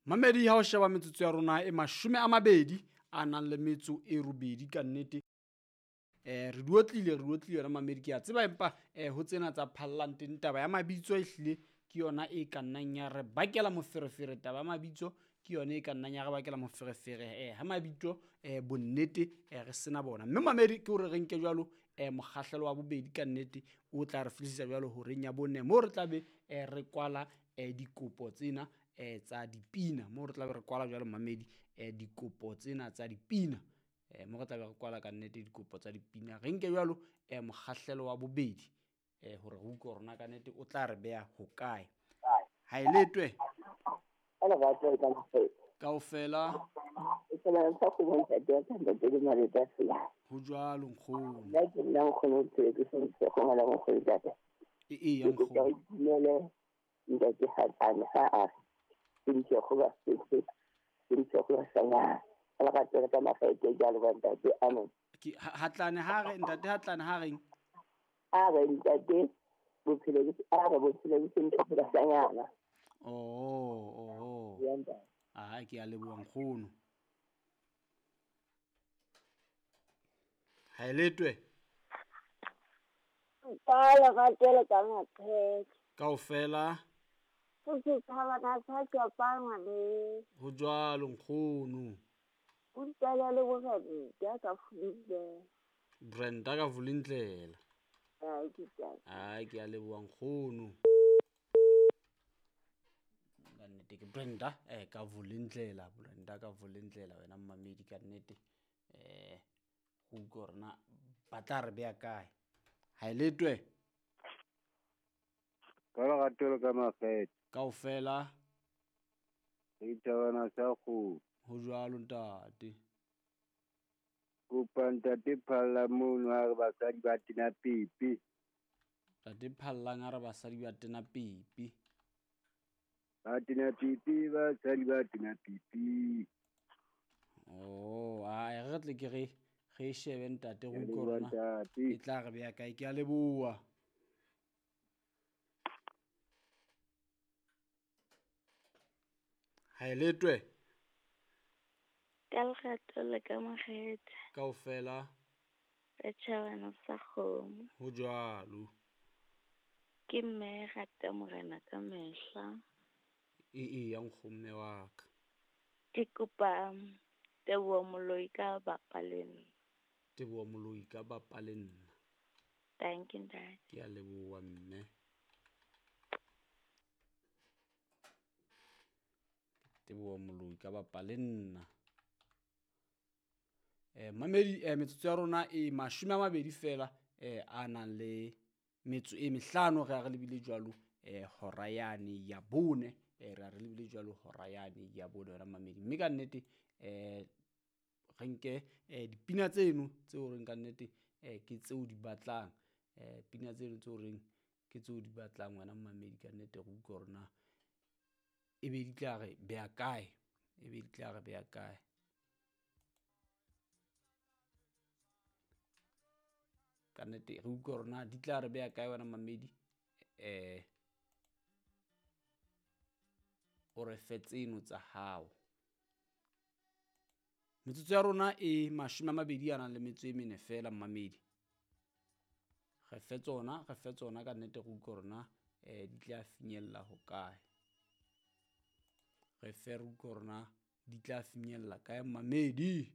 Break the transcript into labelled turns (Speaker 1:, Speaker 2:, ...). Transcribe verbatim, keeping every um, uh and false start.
Speaker 1: Mamedi ha o sheba metsotso ya rona e mashome a mabedi a nang le metso e robedi ka nnete. Eh re duotlile re duotlile yona mamedi ke a tseba empa eh ho tsena tsa phallang teng taba ya mabitso e hlile ke yona e ka nnang ya re bakela moferefere. Taba ya mabitso ke yona e ka nnang ya re bakela moferefere eh ha mabitso eh bonnete eh re sena bona. Mme mamedi ke hore re nke jwalo eh mokgahlelo wa bobedi ka nnete o tla re fihlisa jwalo horeng ya bone moo re tla be eh re kwala eh dikopo tsena eh tsa dipina. Moo re tla be re kwala jwalo mamedi eh dikopo tsena tsa dipina. Eh mo re tla be re kwala ka nnete dikopo tsa dipina. Re nke jwalo eh mokgahlelo wa bobedi eh hore re utlwe hore na ka nnete o tla re beha hokae. Ha e letwe. Kaofela. Ho jwalo nkgono. E e ya nkgono.
Speaker 2: Ntate Hatlane ha a re ke ntse go ba setse ke ntse go ba sanya la ka tsela ka mafaete jalo ba ntate amen.
Speaker 1: Ke Hatlane ha re ntate Hatlane ha reng
Speaker 2: a re ntate bophelo ke a re bophelo ke ntse go ba sanyana.
Speaker 1: Oh oh. Ah ke a leboha nkgono. Ha e letwe.
Speaker 3: Ka la ka tsela ka maphetse.
Speaker 1: Kaofela.
Speaker 3: Ho
Speaker 1: jwalo nkgono.
Speaker 3: O ntala le Brenda ka Vulindlela.
Speaker 1: Brenda ka Vulindlela.
Speaker 3: Ai ke tla.
Speaker 1: Ai ke a leboha nkgono. Ka nnete ke Brenda eh ka Vulindlela, Brenda ka Vulindlela wena mmamedi ka nnete eh go utlwa hore na ba tla re beha kae. Ha e letwe.
Speaker 4: Ka lerato ka makgethe.
Speaker 1: Kaofela.
Speaker 4: Re thabana sa kgomo.
Speaker 1: Ho jwalo ntate.
Speaker 4: Kopa ntate Phalla mono ha re basadi ba tena pipi.
Speaker 1: Ntate Phallang ha re basadi ba tena pipi.
Speaker 4: Ba tena pipi, basadi ba tena pipi.
Speaker 1: Oh, a re tle ke re re shebe ntate go utlwe hore na e tla re beha kae. Ke a leboha. Ha e letwe.
Speaker 3: Ka lerato le ka makgethe.
Speaker 1: Kaofela.
Speaker 3: Setjhabana sa kgomo.
Speaker 1: Ho jwalo.
Speaker 3: Ke mme rata morena ka mehla.
Speaker 1: E e ya nkgomme wa ka.
Speaker 3: Ke kopa Teboho Moloi ka bapa le nna.
Speaker 1: Teboho Moloi ka bapa le nna.
Speaker 3: Thank you ntate.
Speaker 1: Ke a leboha mme. Teboho Moloi ka bapa le nna. Eh mamedi eh metsotso ya rona e mashome a mabedi fela eh a nang le metso e mehlano re a re lebile jwalo eh hora yane ya bone eh re a re lebile jwalo hora yane ya bone wena mamedi. Mme ka nnete eh re nke eh dipina tseno tseo reng ka nnete eh ke tseo di batlang eh pina tseno tseo reng ke tseo di batlang wena mamedi ka nnete re utlwe hore na e be di tla re beha kae, e be di tla re beha kae. Ka nnete re utlwe hore na di tla re beha kae wena mamedi eh o re fe tseno tsa hao. Metsotso ya rona e mashome a mabedi a nang le metso e mene fela mmamedi. Re fe tsona, re fe tsona ka nnete re utlwe hore na eh di tla finyella hokae. Re fe re utlwe hore na di tla finyella kae mmamedi.